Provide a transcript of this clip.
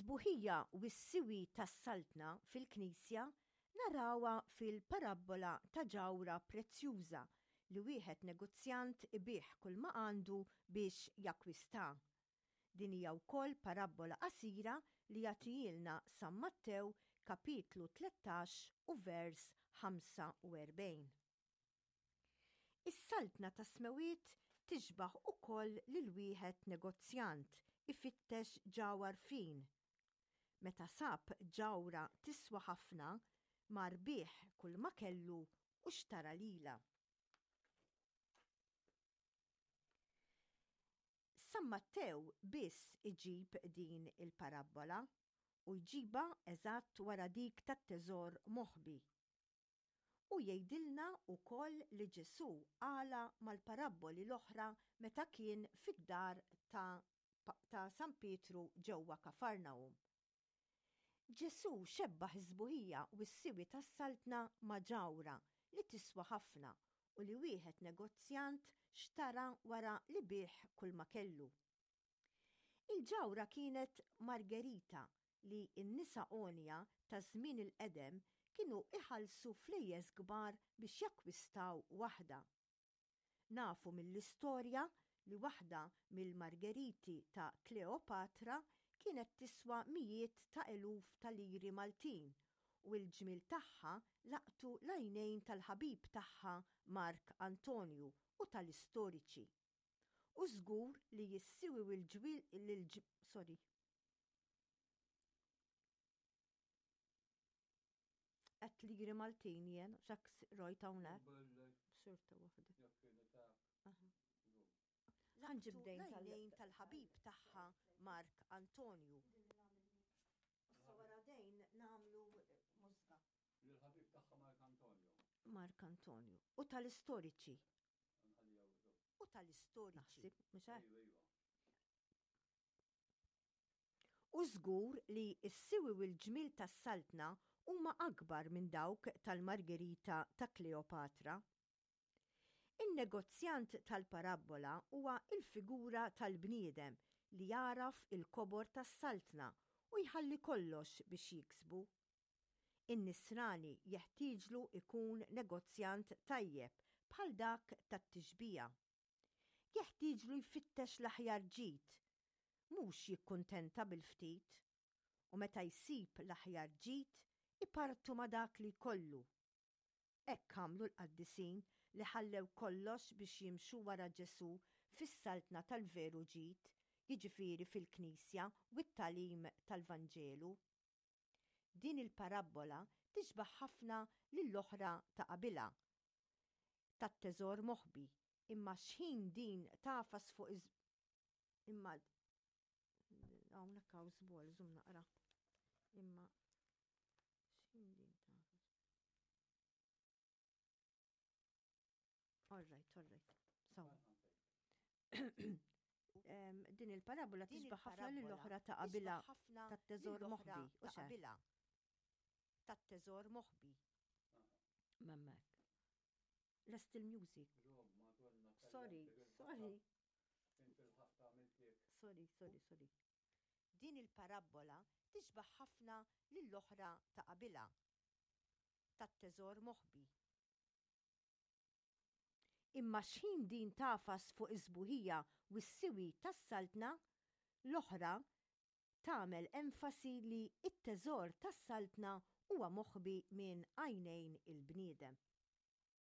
Is-sbuħija u s-siwi tas-Saltna fil-Knisja narawha fil-parabbola ta' ġawhra prezzjuża li wieħed negozjant ibigħ kulma għandu biex jakkwistha. Din hija wkoll parabbola qasira li jagħtihielna San Mattew kapitlu 13 u vers 45. Is-Saltna tas-Smewwiet tixbah ukoll lil wieħed negozjant ifittex ġawhar fin. Meta sab ġawhra tiswa ħafna, mar biegħ kulma kellu u xtara lilha. San Mattew biss iġib din il-parabbola u jġibha eżatt wara dik tat-teżor moħbi. Hu jgħidilna wkoll li Ġesù qalha mal-parabboli l-oħra meta kien fid-dar ta' ta' San Pietru ġewwa Kafarnahum. Ġesù xebbah is-sbuħija u s-siwi tas-Saltna ma' ġawhra li tiswa ħafna u li wieħed negozjant xtara wara li biegħ kulma kellu. Il-ġawhra kienet margerita li n-nisa għonja ta' żmien il-qedem kienu iħallsu flejjes kbar biex jakkwistaw waħda. Nafu mill-istorja li waħda mill-margeriti ta' Kleopatra kienet tiswa mijiet ta' eluf ta' liri Maltin u l-ġmiel tagħha laqtu l-għajnejn tal-ħabib tagħha Mark Antonju u tal-istoriċi. U żgur li s-siwi u l-ġwil sorry. Qed liri Maltin jien, xak rojt hawnhekk. Xorta waħda. Ħanġib dejn tal-ħabib tagħha Mark Antonju. Issa wara dejn nagħmlu mużga. L-ħabib tagħha Mark Antonio. Mark Antonio. U tal-istoriċi. U tal-istoriċi. Naħseb, mhux hekk? Iva, iva. U żgur li s-siwi u l-ġmiel tas-saltna huma akbar minn dawk tal-Margherita ta' Kleopatra. In-negozjant tal-parabbola huwa l-figura tal-bniedem li jagħraf il-kobor tas-Saltna u jħalli kollox biex jiksbu. In-Nisrani jeħtieġlu jkun negozjant tajjeb bħal dak tat-tixbiha. Jeħtieġlu jfittex l-aħjar ġid, mhux jikkuntenta bil-ftit. U meta jsib l-aħjar ġid, ipartu ma' dak li jkollu. Hekk għamlu l-qaddisin li ħallew kollox biex jimxu wara Ġesù fis-saltna tal-veru ġid, jiġifieri fil-Knisja u t-tagħlim tal-Vanġelu. Din il-parabbola tixbah ħafna lill-oħra ta' qabilha, tat-teżor moħbi, imma x'ħin din tagħfas fuq iż imma hawnhekk hawn żball, żomm naqra. Imma x'ħin din tagħfas. All right, all right. So. Din il-parabola tixbaħ ħafna lill-oħra ta' qabilha tat-teżor moħbi. U qabilha tat-teżor moħbi. Memmek. Lest il-music. Sorry, sorry. Sorry, sorry, sorry. Din il-parabbola tixbah ħafna lill-oħra ta' qabilha, tat-teżor moħbi. Imma x'ħin din tagħfas fuq is-sbuħija u s-siwi tas-Saltna, l-oħra tagħmel enfasi li t-teżor tas-Saltna huwa moħbi minn għajnejn il-bniedem.